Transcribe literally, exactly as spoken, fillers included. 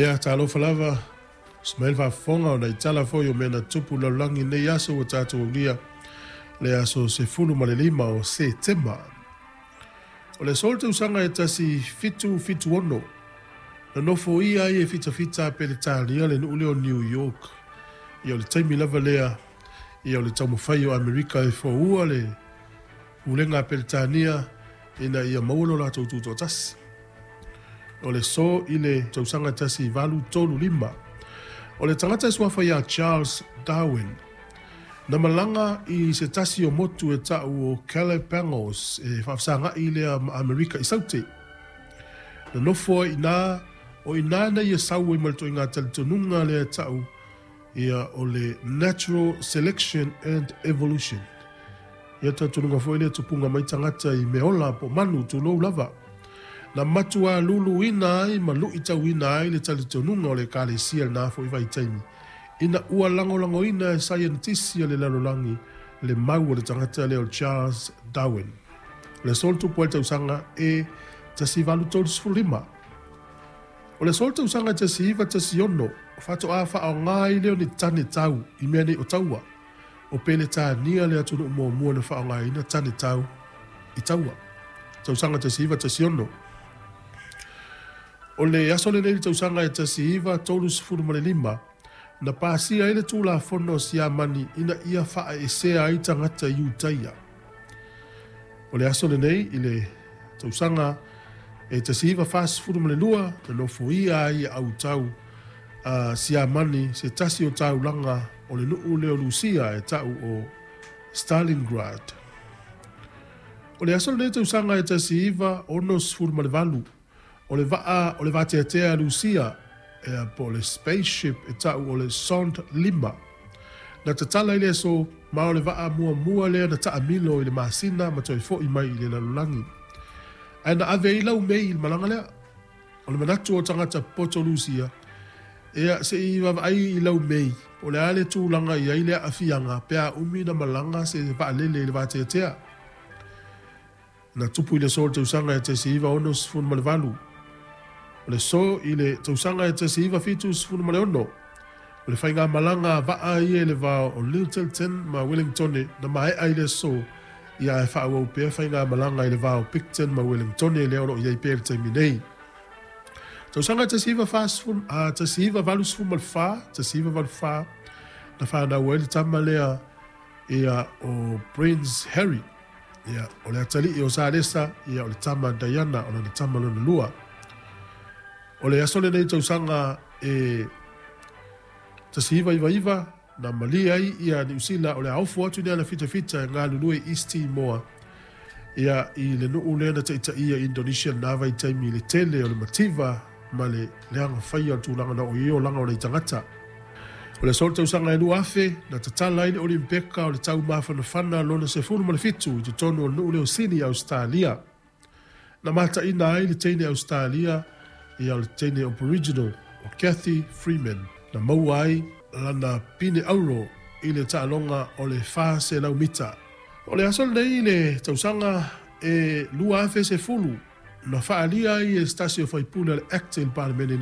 Ia, talofa lava, susu mai le faafofoga ona i tala foi o mea na tupu i le lalolagi i lenei aso ua tatou aulia le aso sefulu ma le lima o Setema. O le aso le tausaga e tasi fitu fitu ono, na nofoia ai e fitafita a Peretania le nuu lea o New York. Ia o le taimi lava lea, ia o le taumafai o Amerika e foua le pulega a Peretania ina ia maua lo latou tutoatasi. O le aso i le tausaga tasi valu tolu lima, o le tagata e suafa ia Charles Darwin, na malaga i se tasi o motu e ta'u o Galapagos e faafesaga'i lea ma Amerika i Saute. Na nofo ai iina, o iina na ia sau ai ma le toaiga talitonuga lea e ta'u ia o le natural selection and evolution. Ia talitonuga foi lea tupuga mai tagata i meaola po o manu tulou lava. Na matua luluina ai ma lu'itauina ai le talitonuga o le Ekalesia i lena foi vaitaimi, ina ua lagolagoina e saienitisi a le lalolagi le mau o le tagata lea o Charles Darwin. O le aso na tupu ai le tausaga e tasi valu tolu lima. O le aso le tausaga e tasi iva tasi ono, faatoa faaaoga ai lea o ni tane tau i mea nei o taua. O Peretania le atunuu muamua na faaaogaina tane tau i taua. Tausaga tasi iva tasi ono. O le aso lenei le tausaga e tasi iva tolu sefulu ma le lima, na pasia ai le Tulafono a Siamani ina ia faaesea ai tagata Iutaia. O le aso lenei i le tausaga e tasi iva fasefulu ma le lua, na nofoia ai e autau a Siamani se tasi o taulaga o le nuu lea o Lusia e ta'u o Stalingrad. O le aso lenei tausaga e tasi iva ono sefulu ma le valu, o le vaa o le vateatea a Lusia e po o le spaceship e ta'u o le Zond lima, na tatala i le aso, ma o le vaa muamua lea na ta'amilo i le masina ma toe fo'i mai i le lalolagi. Ae na ave ai laumei i le malaga lea. O le manatu o tagata poto Lusia, ia se'i vaavaai i laumei po o le a le tulaga i ai le aafiaga pe a umi na malaga se vaalele i le vateatea. Na tupu i le aso o le tausaga e tasi iva ono sefulu ma le valu. O le aso i le tausaga e tasi iva fitu sefulu ma le ono, o le faigamalaga vaa ia i le va o Lyttelton ma Wellingtone na mae'a i le aso, ia ae faaauau pea faigamalaga i le va o Picton ma Wellingtone lea o loo i ai pea i le taimi nei. Tausaga tasi iva fasefulu a tasi iva valu sefulu ma le fa, tasi iva valu fa, na fanau ai le tama lea ia o Prince Harry, ia o le atalii o Salesa, ia o le tama Diana, o lana tama lona lua. O le aso lenei tausaga e tasi iva iva iva, na malie ai ia Niusila o le a ofo atu i le alafitafita e galulue i East Timor, ia i le nuu lea na taitaia Indonesia na vaitaimi i le tele o le mativa ma le leaga faia o le tulaga na o i olaga o nai tagata. O le aso le tausaga e lua afe, na tatala ai le Olimpeka o le taumafanafana lona sefulu ma le fitu i totonu o le nuu lea o Sini, Ausetalia. Na mataina ai le teine Ausetalia, ia o le teine Aboriginal o Cathy Freeman, na maua ai lana pine auro i le taaloga o le fa selau mita. O le aso lenei i le tausaga e lua afe sefulu, na faaalia ai e se tasi o faipule a le Act i le Palemene